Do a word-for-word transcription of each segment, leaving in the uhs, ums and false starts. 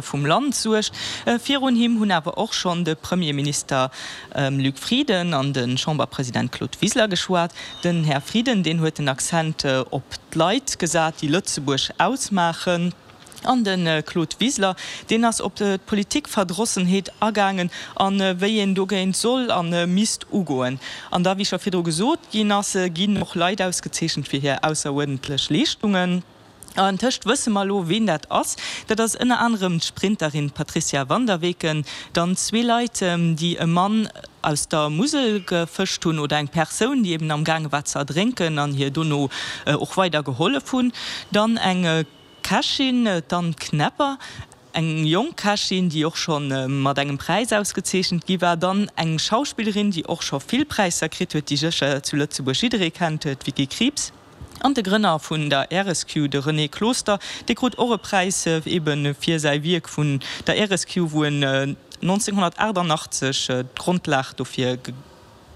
vum Land suergt. Virun him hunn awer och schonn de Premierminister Luc Frieden an de Chamberpresident Claude Wiseler geschwat. Den Här Frieden, deen huet den Accent op d'Leit gesat, déi Lëtzebuerg ausmaachen. An de Claude Wiseler, deen ass op d'Politikverdrossenheet agaangen a wéi een dogéint soll a misst ugoen. An da, wéi scho virdru gesot ginn ass, ginn och Leit ausgezeechent fir hir ausseruerdentlech Leeschtungen. An tëscht wësse mer elo, ween dat ass. Dat ass ënner anerem d'Sprinterin Patricia Vanderweken, dann zwee Leit, déi e Mann aus der Musel gefëscht hunn oder eng Persoun, déi eben am gaange war ze erdrénken an hir dono och weider gehollef hunn, dann eng Kächin, d'Anne Knepper, eng jonk Kächin, déi och scho mat engem Präis ausgezeechent gi war, dann eng Schauspillerin, déi och scho vill Präisser kritt huet, déi sécher zu Lëtzebuerg jidderee kennt, d'Vicky Krieps. An de Grënner vun der Resq, de René Closter, dee krut och e Präis ebe fir säi Wierk vun der Resq, wou en nonzénghonnertaachtannachtzeg d'Grondlag dofir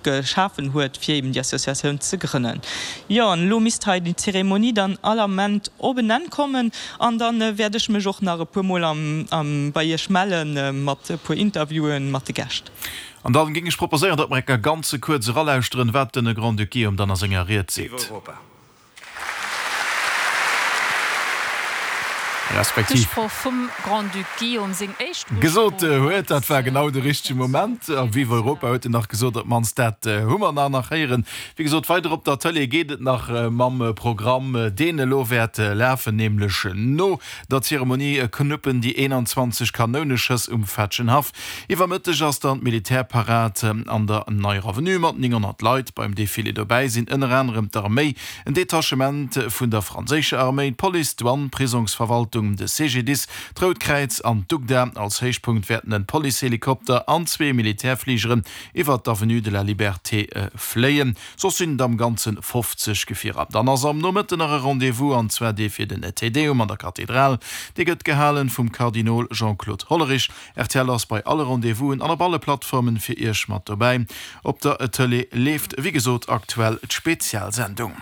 geschafen huet, fir eben déi Associatioun ze grënnen. Jo, an elo misst hei déi Zeremonie dann all Ament op en Enn kommen an da wäert ech mech och nach e puermol bei Iech melle mat e puer Interviewen mat de Gäscht. An dann géing ech proposéieren, datt mer eng Kéier ganze kuerz eralauschteren, wat den Grand-Duc Guillaume dann a senger Ried seet. Respektiv gesot huet. Dat war genau de richtege Moment. A Vive Europa huet en nach gesot, op d'mannst dat hu mer nach nach héieren. Wéi gesot, weider op der Tëlee geet et nach mam Programm, deen elo wäert lafen, nämlech no der Zeremonie knuppen déi eenanzwanzeg Kanouneschëss um Fetschenhaff. Iwwer Mëtteg ass dann d'Militärparad an der Neier Avenue mat nénghonnert Leit. Beim Defilé dobäi sinn ënner anerem d'Arméi, en Detachement vun der franséischer Arméi, d'Police, d'Douane, d'Prisongsverwaltung, de C G D I S, d'Rout Kräiz an d'UGDA. Als Héichpunkt wäerten en Policehelikopter an zwee Militärfligeren iwwer d'Avenue de la Liberté fléien. Soss sinn et am Ganze fofzeg Gefierer. Dann ass am Nomëtten nach e Rendez-vous, an zwar dee fir den Te Deum an der Kathedral. Dee gëtt gehalen vum Kardinol Jean-Claude Hollerich. R T L ass bei alle Rendez-vousen an op alle Plattformen fir Iech mat dobäi. Op der Tëlee leeft wéi gesot aktuell d'Spezialsendung.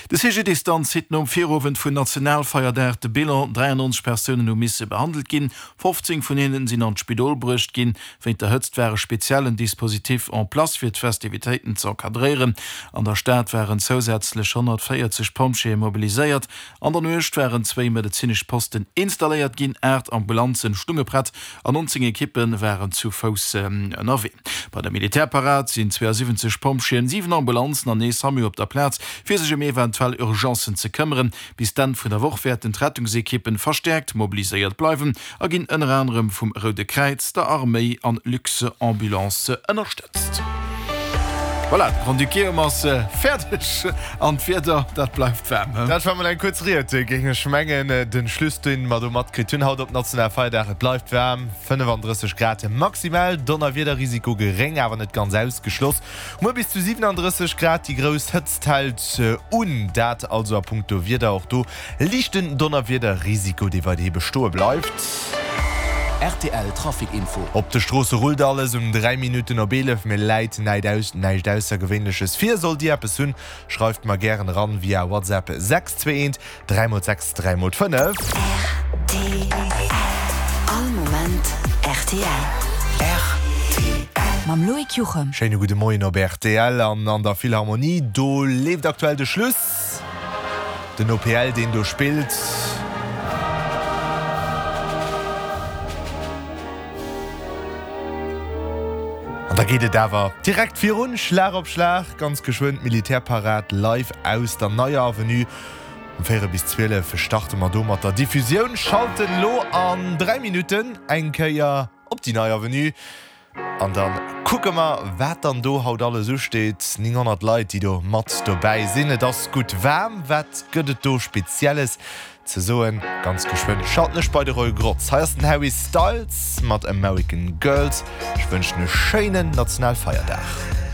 De C G D I S dann zitt nom Virowend vun Nationalfeierdag de Bilan, dräiannonzeg Persounen hu misse behandelt ginn, fofzéng vun hinnen sinn an d'Spidol bruecht ginn. Wéint der Hëtzt war e speziellen Dispositif en place fir d'Festivitéiten ze encadréieren. An der Stad waren zousätzlech honnertvéierzeg Pompjeeë mobiliséiert. An der Nuecht waren zwéi medezinesch Posten installéiert ginn, aacht Ambulanzen stunge prett an nonzéng Ekippe waren zu Fouss ënnerwee. Bei der Militärparad sinn zweeasiwwenzeg Pompjeeën, siwen Ambulanzen an ee SAMU op der Plaz, fir sech ëm eventuell Urgencen ze këmmeren. Bis d'Enn vun der Woch wäerten d'Rettungsekippen verstäerkt mobiliséiert bleiwen a ginn ënner anerem vum Roude Kräiz, der Arméi an Luxambulance ënnerstëtzt. Voilà, de Grand-Duc Guillaume ass fäerdeg an d'Wieder, dat bleift waarm, he? Dat war mol eng kuerz Ried, géing ech mengen. Den Schluss, deen mer do matkritt hunn haut op Nationalfeierdag, et bleift waarm, fënnefandrësseg Grad maximal, Donnerwiederrisiko geréng, awer net ganz ausgeschloss. Muer bis zu siwenandrësseg Grad, déi grouss Hëtzt hält un. Dat also a punkto Wieder, och do liichten Donnerwiederrisiko, dee weiderhi bestoe bleift. R T L Trafic Info. Op de Stroosse rullt alles um dräi Minutten op eelef. Mir läit näischt Aussergewéinleches vir. Sollt Dir eppes hunn, schreift mer gären eran via WhatsApp sechs zwee eent dräi mol sechs dräi mol fënnef. R T L. All Moment R T L. R T L. Mam Loïc Juchem. Schéine gudde Moien op R T L an an der Philharmonie. Do leeft aktuell de Schluss. Den O P L, deen do spillt. An da geet et awer direkt virun, Schlag op Schlag, ganz geschwënn d'Militärparad live aus der Neier Avenue. Um véierel bis zwielef starte mer do mat der Diffusioun, schalten elo an dräi Minutten eng Kéier op déi Nei Avenue an da kucke mer, wat dann do haut alles usteet. nénghonnert Leit, déi do mat dobäi sinn. Et ass gutt waarm. Wat gëtt et do Spezielles ze soen? Ganz geschwënn schalten ech bei de Roy Grotz. Hei ass den Harry Styles mat American Girls. Ech wënschen e schéinen Nationalfeierdag.